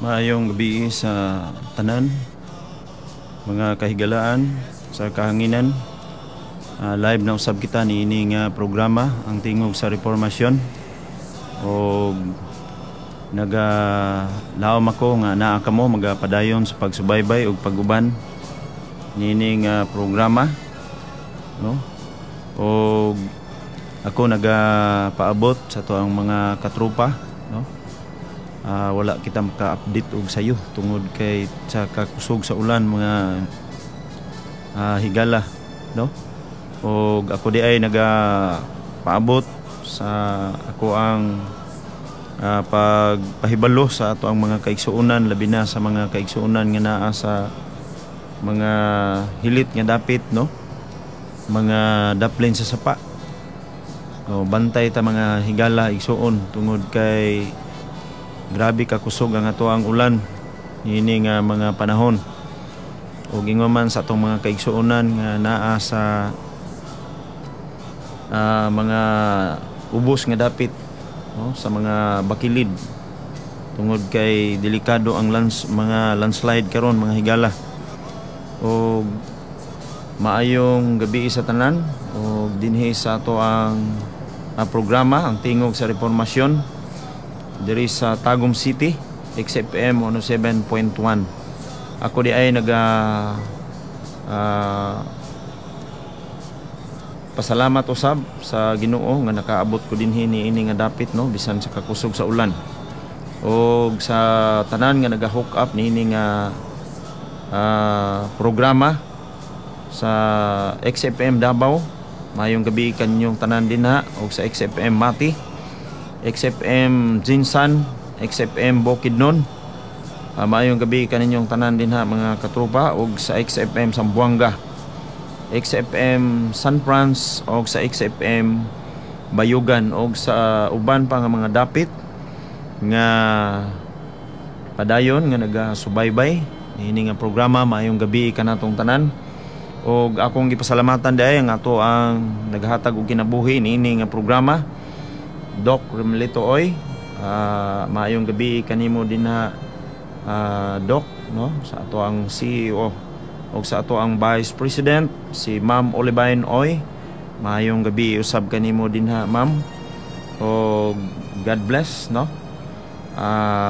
Maayong gabi sa tanan, mga kahigalaan sa kahanginan. Live na usab kita niini nga programa, Ang Tingog sa Reformasyon. Og naga laom ako nga naa kamo magapadayon sa pagsubaybay ug pag-uban niini nga programa, no? Og ako nagapaabot sa atoang mga katropa, no? Wala kita maka-update og sayo tungod kay sa kakusog sa ulan, mga higala, no? Og ako di ay nagapaabot sa ako ang pagpahibalo sa ato ang mga kaigsuonan, labi na sa mga kaigsuonan nga naa sa mga hilit nga dapit, no, mga daplin sa sapa. O, bantay ta, mga higala, igsuon, tungod kay grabe ka kusog ang ato ang ulan niini nga mga panahon. Ug ingon man sa atong mga kaigsuonan nga naa sa mga ubos nga dapit, no, sa mga bakilid, tungod kay delikado ang mga landslide karon, mga higala. Og maayong gabi sa tanan og dinhi sa ato ang programa, Ang Tingog sa Reformasyon, diri sa Tagum City, XFM 107.1. Ako di ay naga pasalamat usab sa Ginoo nga nakaabot ko dinhi niini nga dapit, no, bisan sa kakusog sa ulan. Og sa tanan nga naga-hook up niini nga programa sa XFM Davao, maayong gabi kaninyong tanan dinha, og sa XFM Mati, XFM GenSan, XFM Bukidnon. Maayong gabi kaninyong tanan dinha, mga katropa, og sa XFM Zamboanga, XFM San Franz, og sa XFM Bayugan, og sa uban pa nga mga dapit nga padayon nga nagasubaybay niini nga programa, maayong gabi kanatong tanan. Og akong gipasalamatan diay ang ato ang naghatag og kinabuhi niini nga programa, Doc Romelito Oy. Maayong gabi kanimo dinha, Doc, no, sa ato ang CEO, og sa ato ang Vice President, si Ma'am Olivine Oy. Maayong gabi usab kanimo dinha, Ma'am, og God bless, no,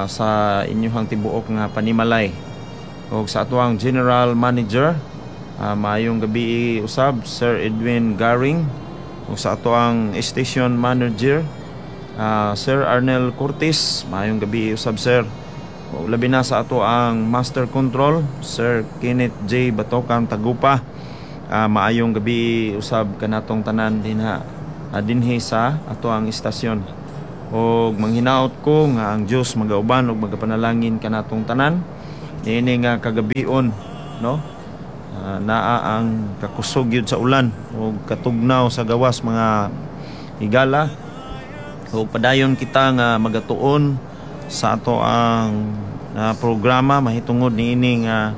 sa inyong tibuok nga panimalay. Og sa ato ang General Manager, maayong gabi usab, Sir Edwin Garing, ug sa ato ang Station Manager, Sir Arnel Cortez, maayong gabi usab, sir. O, labi na sa ato ang Master Control, Sir Kenneth J. Batokan Tagupa. Maayong gabi usab kanatong tanan dinha, dinhi sa ato ang istasyon. Og manghinaot ko nga ang Dios magauban ug magapanalangin kanatong tanan niini nga kagabion, no? Naa ang kakusog yun sa ulan ug katugnaw sa gawas, mga higala. O padayon kita nga magatuon sa ato ang programa mahitungod niini nga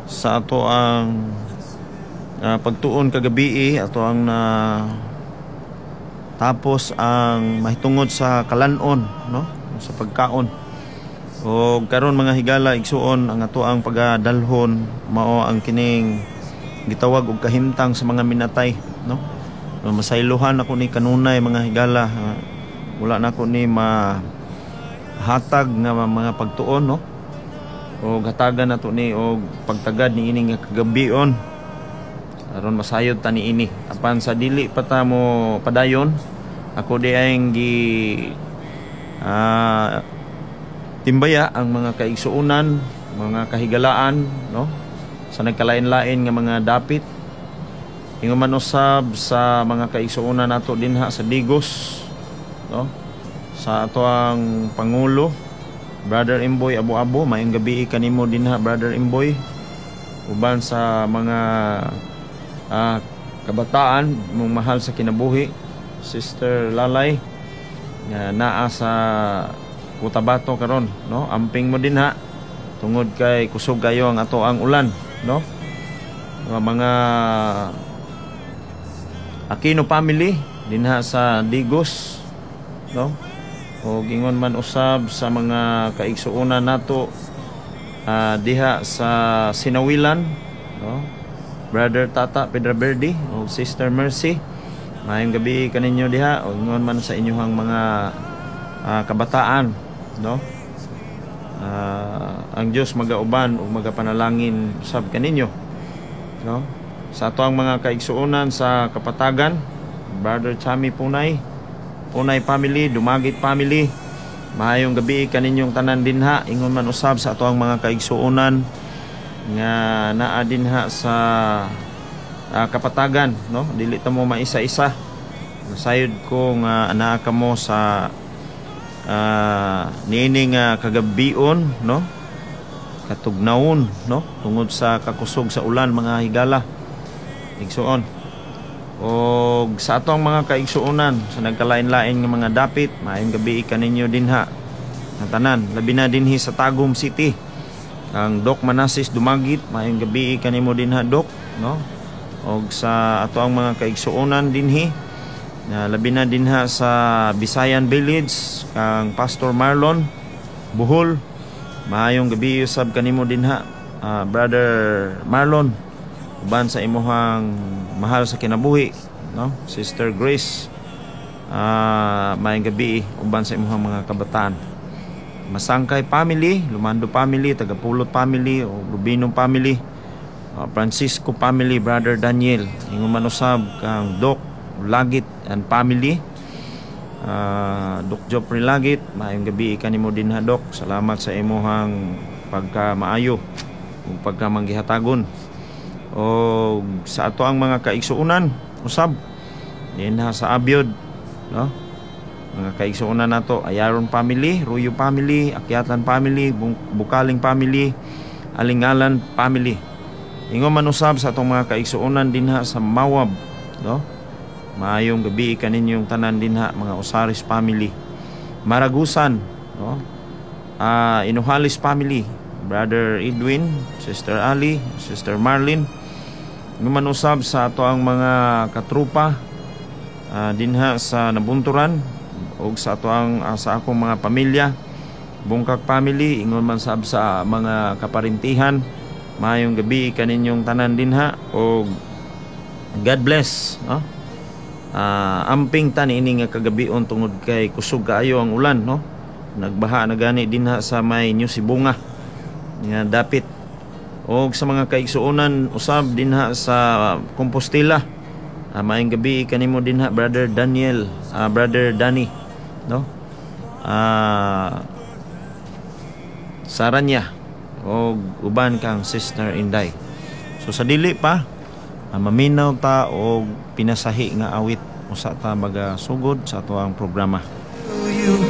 sa ato ang pagtuon kagabi, ato ang na tapos ang mahitungod sa kalanon, no, sa pagkaon. O karon, mga higala, igsuon, ang ato ang pagadalhon mao ang kining gitawag og kahimtang sa mga minatay, no? Masaylohan ako ni kanunay, mga higala. Wala na ako ni mahatag nga mga pagtuon, no? O hatagan nato ni og pagtagad ni ini nga kagabion aron masayod ta niini. Apan sa dili pa ta mo padayon, ako di ay gi timbaya ang mga kaigsuonan, mga kahigalaan, no, sa nagkalain-lain nga mga dapit. Ingon man usab sa mga kaigsuonan nato dinha sa Digos, no, sa ato ang pangulo, Brother Imboy Abo-Abo, maayong gabi kanimo dinha, Brother Imboy, uban sa mga kabataan mong mahal sa kinabuhi, Sister Lalay, nga naa sa Cotabato karon, no? Amping mo dinha tungod kay kusog kayo ang ato ang ulan, no? Mga Aquino family dinha sa Digos, no? O ingon man usab sa mga kaigsuonan nato diha sa Sinawilan, no? Brother Tata Pedro Verde o Sister Mercy, maayong gabi kaninyo diha, o ingon man sa inyong mga kabataan, no? Ang Dios magauban ug magapanalangin sab kaninyo, no? Sa ato ang mga kaigsuonan sa Kapatagan, Brother Chami Punay, Punay family, Dumagit family, maayong gabi kaninyong tanan dinha. Ingon man usab sa ato ang mga kaigsuonan nga naa dinha sa Kapatagan, no? Dili ta mo maisa-isa. Nasayod ko nga anaa kamo sa niini nga kagabion, no? Katugnawon, no? Tungod sa kakusog sa ulan, mga higala. Igsuon. Og sa atong mga kaigsuonan sa nagkalain-lain nga mga dapit, maayong gabi kaninyo dinha. Ang tanan, labi na dinhi sa Tagum City. Ang Doc Manasis Dumagit, maayong gabi kanimo dinha, Doc, no? Og sa ato ang mga kaigsuonan dinhi, na labi na dinha sa Bisayan Village, kang Pastor Marlon Buhol, maayong gabi usab kanimo dinha, Brother Marlon, uban sa imuhang mahal sa kinabuhi, no? Sister Grace, maayong gabi uban sa imuhang mga kabataan. Masangkay family, Lumando family, Tagapulot family, o Rubino family, Francisco family, Brother Daniel, ingon man usab kang Doc Lagit and family, Doc Joffrey Lagit, maayong gabi kanimo dinha, Doc. Salamat sa imuhang pagka maayo ug pagka manggihatagon. O sa ato ang mga kaigsuonan usab dinha sa Abyod, no? Mga kaigsuonan nato, Ayaron family, Ruyo family, Akyatan family, Bukaling family, Alingalan family. Ingon man usab sa atong mga kaigsuonan dinha sa Mawab, no? Maayong gabi kaninyong tanan dinha, mga Osaris family. Maragusan, no? Inuhalis family, Brother Edwin, Sister Ali, Sister Marlene. Ingon man usab sa ato ang mga katrupa dinha sa Nabunturan ug sa ato ang sa akong mga pamilya, Bungkak family, ingon man sab sa mga kaparintihan. Maayong gabi kaninyong tanan dinha og God bless, no? Amping ta niini nga kagabion tungod kay kusog kaayo ang ulan, no? Nagbaha na gani dinha sa may New Sibonga nga dapit. Og sa mga kaigsuonan usab dinha sa Compostela, maayong gabi kanimo dinha, Brother Daniel, Brother Danny, no? Saranya og uban kang Sister Inday. So sa dili pa, maminaw ta og pinasahi nga awit, usa ta magasugod sa atoang programa.